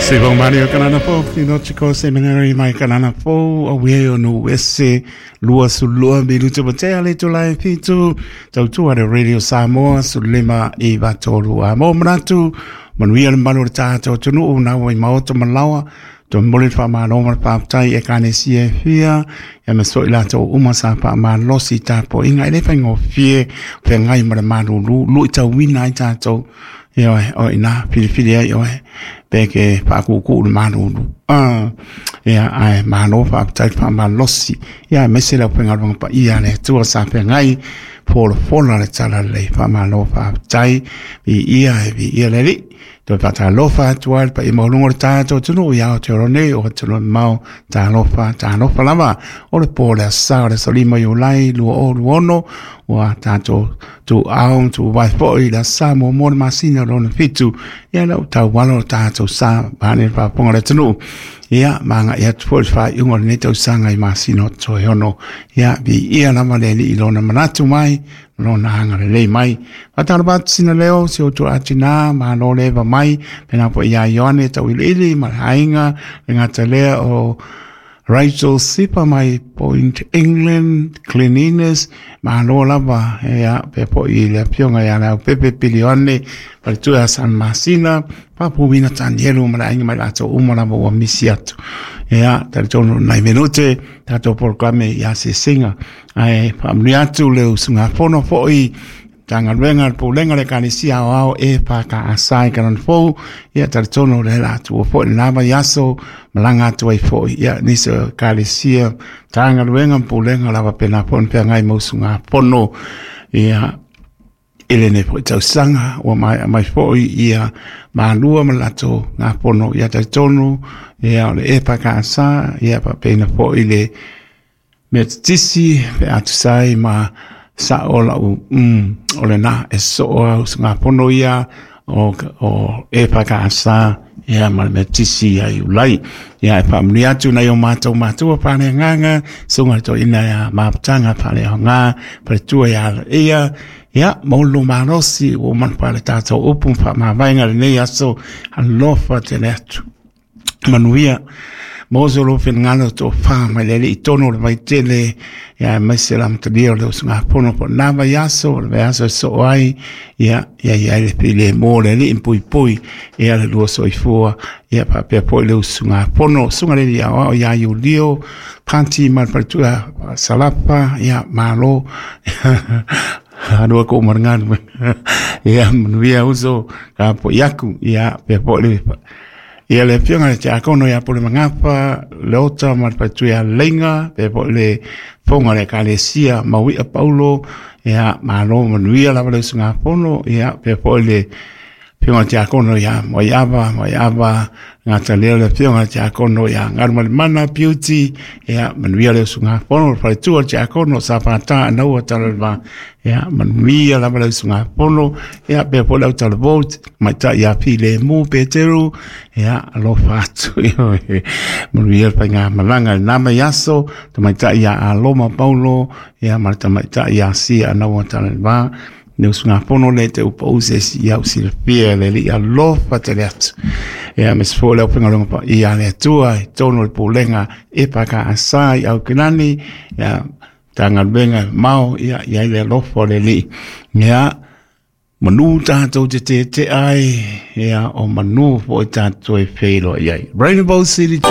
Se vau mani o Kanana Fou, Theological Seminary mai Kanana Fou, o wei o no ese, lua su lua minutu ma te ale tu lai fitu, tau tua le Radio Samoa, su lima i vatoru a mō manatu, manuia le malu o le tātou tunu, nā wai maoto malawa, to mole le whaamalo ma le whaaptai e kane si e fia, e me so i latou uma sa faamalosi tapuaiga e le faigofie feagai ma le malulu luitauina ai tatou ioe o ina filifili ai oe pe ke faakūkū le malulu ia ae malo faafetai le faamalosi ia aemaise le aufaigaluega paia a le Atua sa feagai folafola le tala lelei faamalo faafetai viia e viia le Alii. Toe faatalofa atu ai le paia maualuga o le tatou atunuu i Aotearoa nei o atunuu mamao. Talofa, talofa lava. O le po o le aso Sa o le aso 5 Iulai 2026 ua tatou tuuao ma tuuvae foi i le aso Sa muamua o le masina o lona fitu. Ia lea ua taualo le tatou sa vaeane le faafofoga a le atunuu. Ia, ma agai atu foi i le faaiuga o lenei tausaga i masina o toe ono. Ia, viia lava le Alii i lona manatu mai lona agalelei mai. Faatalofa atu sina leo, si outou atina, malo le eva mai, pena foi ia Ioane Tauiliili ma le aiga, le gata lea o Rachel Sipa mai Point England, Cleanliness, malo lava, ia, pea foi i le afioga ia Leaupepe Pili Ioane, faletua ia San Masina, Papuina Tanielu ma le aiga mai latou uma lava ua misi atu. Ia, talitonu nai minute, tatou polokalame i asiasiga. Ae faamanuia atu le usugafono foi Matagaluega le Pulega o le Ekalesia Aoao e FKS i Kalana Fou. Ia talitonu o le la atua foi le la vaiaso malaga atu ai foi. Ia nisi o Ekalesia, Matagaluega ma Pulega lava pena foi ona feagai ma usugafono. Ia i lenei foi tausaga ua maea mai foi ia malua ma le latou gafono. Ia talitonu ia o le EFKS ia faapena foi le Metotisi pe a tusa ai ma sa'o la'u o lena e soo a usugafono ia o EFKS ia ma le Metotisi ia Iulai. Ia e faamanuia atu nai o matou matua faaleagaga, susuga i le toeaina ia Mafutaga Faaleaoga, faletua ia Alaia, ia ma ulu malosi ua uma ona fale tatou upu ma faamavaega i lenei aso, alofa tele atu. Manuia mo so lou finagalo tofa mai le Alii i totonu o le vaitele, ia aemaise le amatalia o le usugafono po o lena vaiaso, o le vaiaso e soo ai, ia ia i ai le filemu o le Alii ma puipui ia le lua soifua, ia faapea foi le usugafono, susuga i le Alii Aoao ia Iulio Pati ma le faletua Salapa, ia malo. Alu aku ma le galuega. Ia manuia uso ka po iaku, ia pea foi le Ia le afioga i le Tiakono ia Pule Magafa, Leota ma le faletua ia Leiga, pea foi le fofoga o le Ekalesia Mauia Paulo, ia malo manuia lava le usugafono, ia pea foi le afioga i le Tiakono ia Moaiava, Moaiava Gata lea o le afioga i le Tiakono ia Galumalemana Beauty, ia manuia le usugafono, le faletua o le Tiakono Safata Anaua Talaleva, ia manuia lava le usugafono, ia pea foi le autalavou tamaitai ia Filemu Peteru, ia alofa atu, manuia le faigamalaga i lena vaiaso, tamaitai ia Aloma Paulo, ia ma le tamaitai ia Sia Anaua Talaleva, le usugafono lea te upau se isi ia usilafia e le Alii alofa tele atu. Ia aemaise foi le aufaigaluega paia a le Atua i totonu o le Pulega EFKS i Aukilani, ia Matagaluega mamao, ia i ai le alofa o le Alii. Ia manu tatou te tetea ai, ia o manu foi tatou e feiloai ai. Rainbow City.